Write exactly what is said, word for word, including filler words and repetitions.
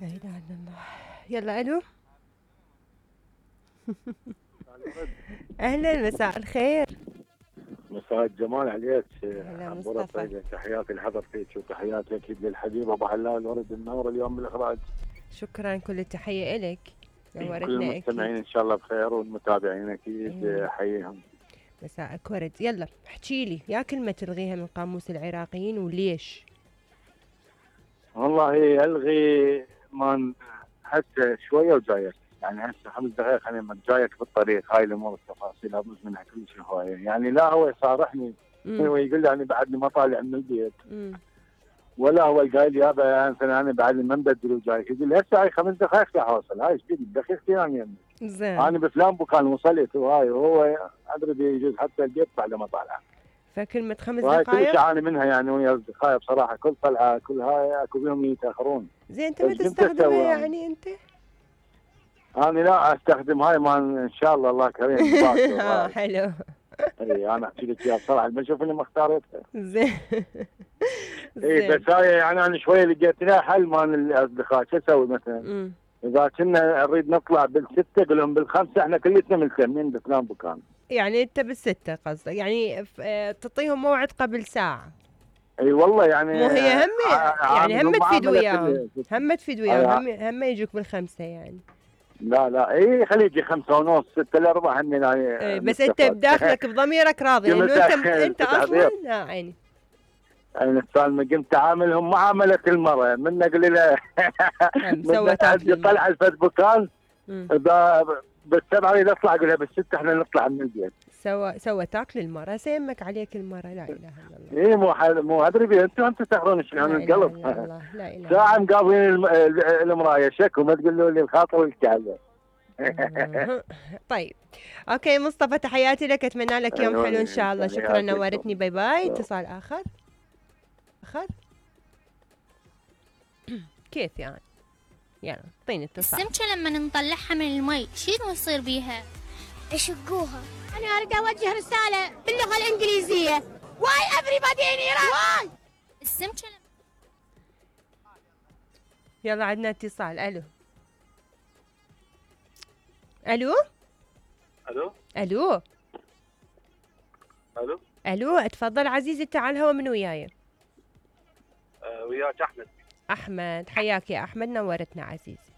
لا اله الا الله. يلا الو. اهلا، مساء الخير. مساء الجمال عليك. هلا عبورة مصطفى. طيبة، تحياتي لحضرتك وتحياتي اكيد للحبيب ابو حلال الورد النور اليوم بالاخراج. شكرا، كل التحية الك. كل نورتنا المستمعين اكيد. ان شاء الله بخير والمتابعين اكيد أيوة. احييهم. مساءك ورد. يلا احكي لي يا كلمة تلغيها من قاموس العراقيين وليش؟ والله الغي ما هسه شويه وجايك، يعني هسه خمس دقائق خلينا جايك بالطريق، هاي الامور التفاصيل ابوز منها كل شيء هوايه، يعني لا هو يصارحني هو يقول لي انا بعدني ما طالع من البيت. مم. ولا هو قايل لي يابا مثلا انا بعد ما مبدل وجايك، يقول لي هسه هاي خمس دقائق راح اوصل، هاي ايش بيدي دقيقتين انا يمي. زين. انا بفلان مكان وصلت وهاي، وهو ادري بيجوز حتى البيت بعد ما طالع. فكلمة خمس وهاي كل دقائق. شيء اعاني منها يعني ويا اصدقائي بصراحه، كل طلعه كل هاي اكو بيهم يتاخرون. زين انت ما ايش كنت تستخدمها اسوي يعني انت؟ انا لا استخدم هاي ما ان شاء الله الله كريم باكر. اه حلو. اي انا احكي لك اياها بصراحه ما اشوف اني ما اختاريتها. زين. اي زين. بس هاي يعني انا شويه لقيت لها حل مال الاصدقاء، شو اسوي مثلا؟ مم. اذا كنا نريد نطلع بالسته قول لهم بالخمسه احنا كلتنا ملتمين بفلان مكان. يعني انت بالستة قصدك، يعني ف- آه، تعطيهم موعد قبل ساعة. اي والله يعني مو هي هم ع- يعني هم عاملهم تفيد معامله وياهم، كل- هم تفيد وياهم، هم هم يجوك بالخمسة يعني. لا لا اي خليه يجي خمسه ونص سته الا ربع هم ايه يعني بس انت نستفاد. بداخلك بضميرك راضي انه انت انت اصلا تحضير. ها عيني. انا السالمه قمت عاملهم معامله المراه، من اقول لها هم من سوت اكل المرة. طلع الفسبوكان مم. بالسبعه اريد اطلع اقول لها بالسته احنا نطلع من البيت. سوى سوى تاكل المرة، سيمك عليك المرة. لا اله الا الله. ايه مو حل... مو ادري بيه انتم انتم تاخذون شلون لا اله القلب. الا الله. لا اله ساعه الا مقابلين الم... المرايه شكو ما تقولوا لي الخاطر الكعبه. الله. طيب اوكي مصطفى، تحياتي لك، اتمنى لك يوم حلو ان شاء الله. شكرا، نورتني. باي باي. اتصال اخر اخر كيف يعني؟ يلا اعطيني اتصال. السمكة لما نطلعها من المي شنو يصير بيها؟ يشقوها. أنا أريد أوجه رسالة باللغة الإنجليزية. Why everybody in Iran? Why؟ السمكة لما يلا عندنا اتصال. الو الو الو الو الو الو اتفضل عزيزي، انت على الهوا، من وياي؟ آه وياك احمد. احمد، حياك يا احمد، نورتنا عزيزي.